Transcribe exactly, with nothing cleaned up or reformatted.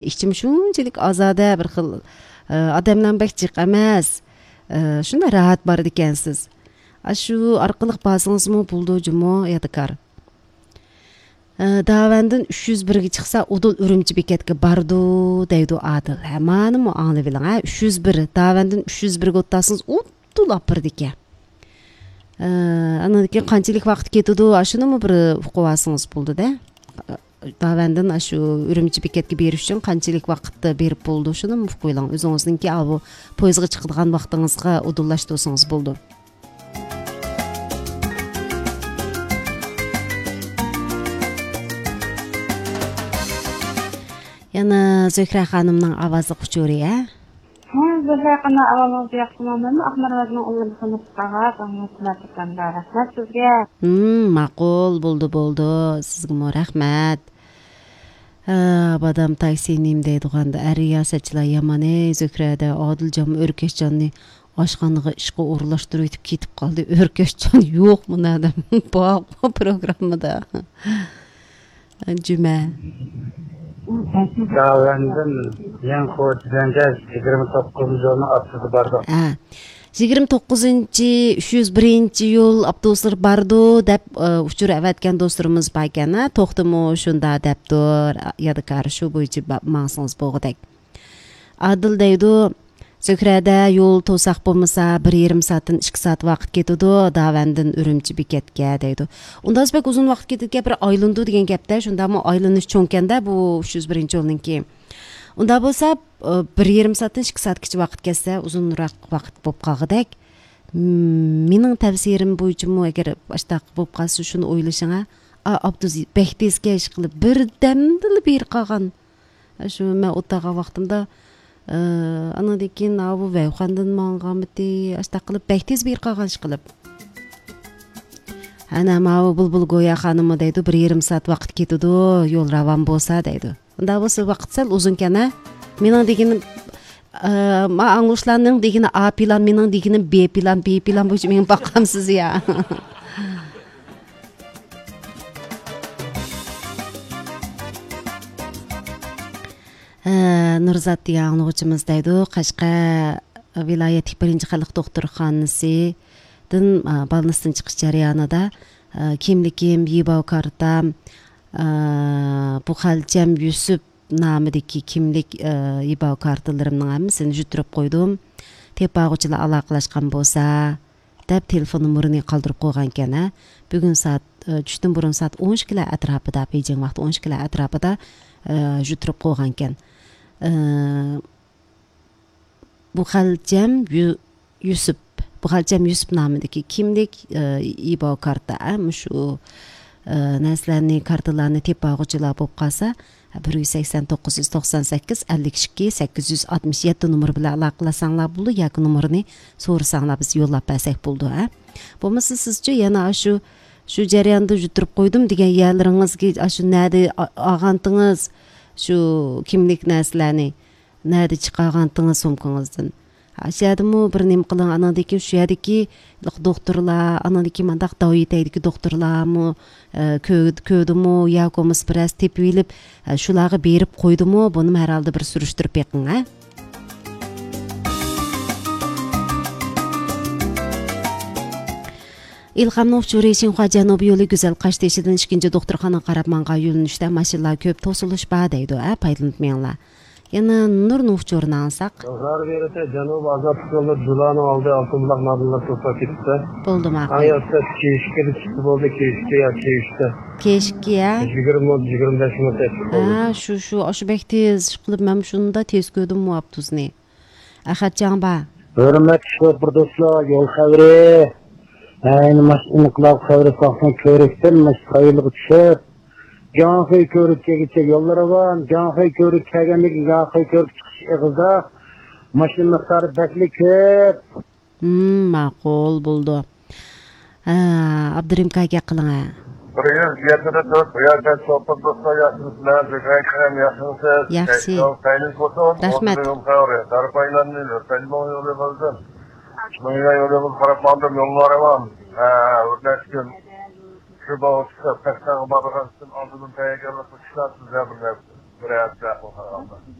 ئىچىم شۇنچىلىك ئازادە، بىر خىل، ئە، ئادەملەر بەك جىق ئەمەس. ئە، شۇنداق راھەت بارىدىكەنسىز. ئاشۇ ئارقىلىق بارسىڭىزمۇ بولىدۇ جۇمۇ، يادىكار. ئە، داۋەندىن ئۈچ يۈز بىرگە چىقسا، ئۇدۇل ئۈرۈمچى بېكەتكە بارىدۇ، دەيدۇ ئادىل. ھە، مانىمۇ ئاڭلىۋېلىڭ، ھە، ئۈچ يۈز بىر. داۋەندىن ئۈچ يۈز بىرگە ئولتۇرسىڭىز، ئۇدۇل ئاپىرىدىكەن. ئە، ئاندىن كېيىن قانچىلىك ۋاقىت كېتىدۇ، ئاشۇنىمۇ بىر ئۇقۇۋالسىڭىز بولىدۇ-دە. داۋەندىن ئاشۇ ئۈرۈمچى بېكەتكە بېرىش ئۈچۈن قانچىلىك ۋاقىتتا بېرىپ بولىدۇ، شۇنىمۇ ئۇقۇۋېلىڭ. ئۆزىڭىزنىڭكى ئاۋۇ پويىزغا چىقىدىغان ۋاقتىڭىزغا ئۇدۇللاشتۇرسىڭىز بولىدۇ. يەنە زۆھرە خانىمنىڭ ئاۋازلىق ئۇچۇرى، ھە؟ ھە، زۆھرە خانىم، ئاۋازىڭىز ياخشىمۇ؟ مەنمۇ ئاقمار ۋەدىنىڭ ئۇلىنى خىزمەت قىلغان، رەھمەت سىزگە. ھىم، ماقۇل، بولدى، بولدى. سىزگىمۇ رەھمەت. ھە، بادام تاكسى نېمە دەيدىغاندا، ئەر رىياسەتچىلەر يامان، ئەي، زۆھرەدە ئادىلجانمۇ ئۆركەشجاننى ئاشخانىغا ئىشقا ئورۇنلاشتۇرۇۋېتىپ كېتىپ قالدى. ئۆركەشجان يوقمۇ نەدە؟ بارغۇ پروگراممىدا. جۈمە. داۋەندىن يېڭى قوچىدىنچە يىگىرمە توققۇزىنچى يولنىڭ ئاپتوبۇسى بارغان. ھە. يىگىرمە توققۇزىنچى، ئۈچ يۈز بىرىنچى يول ئاپتوبۇسلىرى بارىدۇ دەپ، ئە، ئۇچۇر ئەۋەتكەن دوستلىرىمىز باركەن، ھە. توختىمۇ شۇندا دەپتۇ، يادىكار، شۇ بويىچە با-، ماڭسىڭىز بولغۇدەك. ئادىل دەيدۇ، زۆھرەدە يول توساق بولمىسا، بىر يېرىم سائەتتىن ئىككى سائەت ۋاقىت كېتىدۇ، داۋەندىن ئۈرۈمچى بېكەتكە دەيدۇ. ئۇنداز بەك ئۇزۇن ۋاقىت كېتىدىكەن، بىر ئايلىنىدۇ دېگەن گەپتە، شۇنداقمۇ؟ ئايلىنىش چوڭكەندە بۇ ئۈچ يۈز بىرىنچى يولنىڭكى. ئۇنداق بولسا، ئە، بىر يېرىم سائەتتىن ئىككى سائەتكىچە ۋاقىت كەتسە، ئۇزۇنراق ۋاقىت بولۇپ قالغۇدەك. مم، مېنىڭ تەۋسىيەم بويىچىمۇ، ئەگەر ئاشتاق بولۇپ قالسا، شۇنى ئويلىشىڭە. ئا، ئاپتوبۇس بەك تېز كەش قىلىپ، بىردەمدىلا بېرى قالغان. شۇ مەن ئولتۇرغان ۋاقتىمدا، ئە، ئانىڭدىن كېيىن ئاۋۇ ۋەيخەندىن ماڭغانمىتى، ئاشتاق قىلىپ بەك تېز بېرى قالغان ئىش قىلىپ. ئەنە ماۋۇ بۇلبۇل گويا خانىممۇ دەيدۇ، بىر يېرىم سائەت ۋاقىت كېتىدۇ، يول راۋان بولسا دەيدۇ. ئۇنداق بولسا ۋاقىت سەل ئۇزۇنكەن ھە. مېنىڭ دېگىنىم، ئە، ما ئاڭلىغۇچىلارنىڭ دېگىنى ئا پىلان، مېنىڭ دېگىنىم بې پىلان، بې پىلان بويىچە مېنى باقامسىز يا؟ ھە، نۇرزات دېگەن ئاڭلىغۇچىمىز دەيدۇ، قەشقەر ۋىلايەتلىك بىرىنچى خەلق دوختۇرخانىسىدىن، ئا، بالنىستىن چىقىش جەريانىدا، ئا، كىملىكىم، يىباۋ كارتام، ئا، بۇ خەلچەم يۈسۈپ نامىدىكى كىملىك، ئا، يىباۋ كارتىلىرىمنىڭ ھەممىسىنى يۈتتۈرۈپ قويدۇم. تېپىۋالغۇچىلار ئالاقىلەشكەن بولسا، دەپ تېلېفون نومۇرىنى قالدۇرۇپ قويغانىكەن، ھە. بۈگۈن سائەت، ئە، چۈشتىن بۇرۇن سائەت ئون ئىككىلەر ئەتراپىدا، بېيجىڭ ۋاقتى ئون ئىككىلەر ئەتراپىدا، ئە، يۈتتۈرۈپ قويغانىكەن. ئە، بۇ خەلچەم يۈ-، يۈسۈپ، بۇ خەلچەم يۈسۈپ نامىدىكى كىملىك، ئە، ئىباۋ كارتا، ئە، مۇشۇ، ئە، نەرسىلەرنى، كارتىلارنى تېپىۋالغۇچىلار بولۇپ قالسا، بىر يۈز سەكسەن توققۇز يۈز توقسان سەككىز ئەللىك ئىككى سەككىز يۈز ئاتمىش يەتتە نومۇرى بىلەن ئالاقىلەشسەڭلار بولىدۇ ياكى نومۇرىنى سورىساڭلار بىز يوللاپ بەرسەك بولىدۇ، ھە. بولمىسا سىزچۇ يەنە ئاشۇ، شۇ جەرياندا يۈتتۈرۈپ قويدۇم دېگەن يەرلىرىڭىزگە ئاشۇ نەدە ئا-، ئالغانتىڭىز شۇ كىملىك نەرسىلەرنى؟ نەدە چىقارغانتىڭىز سومكىڭىزدىن؟ شۇ يەردىمۇ بىر نېمە قىلىڭ، ئاناندىن كېيىن شۇ يەردىكى دوختۇرلار، ئاناندىن كېيىن مانداق داۋا يېتەيدىكى دوختۇرلارمۇ، ئە، كۆ-، كۆردىمۇ ياكى بولمىسا بىرەرسى تېپىۋېلىپ، ئە، شۇلارغا بېرىپ قويدىمۇ، بۇنىمۇ ھەر ھالدا بىر سۈرۈشتۈرۈپ بېقىڭ، ھە؟ ئىلھامنىڭ ئۇچۇرى شىنخۇا جەنۇبىي يولى گۈزەل قاشتېشىدىن ئىككىنچى دوختۇرخانىغا قاراپ ماڭغان يۆنىلىشتە ماشىنىلار كۆپ، توسۇلۇش بار دەيدۇ، ھە، پايدىلىنىپ مېڭىڭلار. يەنە نۇرنىڭ ئۇچۇرىنى ئاڭلىساق. زار بېرىسە جەنۇب ئازادلىق يولى جۇلانىڭ ئالدى ئالتۇن بۇلاق نادىللار توسۇپ كېتىپتۇ. بولدى، ماقۇل. ئاياقتا كېيىشكىدە چىقسا بولدى، كېيىشكى يا كېيىشتە. كېيىشكى، ھە؟ يىگىرمە مىنۇت، يىگىرمە بەش مىنۇت يېتىپ بولدى. ھە، شۇ، شۇ، ئاشۇ بەك تېز ئىشقىلىپ مەنمۇ شۇندا تېز كۆردۈممۇ ئاپتوبۇسنى. ئەخەتجان بار. ھۆرمەتلىك شوپۇر دوستلار، يول خەۋىرى. ئەينى ماشىنا ئىنقىلاب خەۋىرى ساقسان كۆۋرۈكتىن ماشىنا سايلىغا چۈشۈپ، جاڭخۇي كۆۋرۈك كەلگۈچە يول راۋان، جاڭخۇي كۆۋرۈك كەلگەندىن كېيىن جاڭخۇي كۆۋرۈك چىقىش ئېغىزىدا ماشىنا مىقدارى بەكلا كۆپ. ھىم، ماقۇل، بولىدۇ. ھە، ئابدۇرېھىم ئاكا گەپ قىلىڭ، ھە. بىر يۈز يەتتە تۆت، رىياسەت سوپۇر دوستلار، ياخشىمۇسىلەر؟ زۆھرە خانىم، ياخشىمۇسىز؟ ياخشى. سەي-سوپۇر سەيلىك بولسۇن. رەھمەت. ئۇزۇن يول خەۋىرى. دارپايلارنى، لۆپەيلىنىڭ يولى بولسۇن. شۇنىڭ يولى بولسا قاراپ ماڭدىم، يوللار راۋان. ھە، ئۆتمەس كۈن. شۇ باغ چىقىپ، تەختاغا بارغان ئۈچۈن ئالدىدىن تەييارلىق قىلىشلار سىزلەر بىر نەرسە. بىرەر بىرەر قىلغان.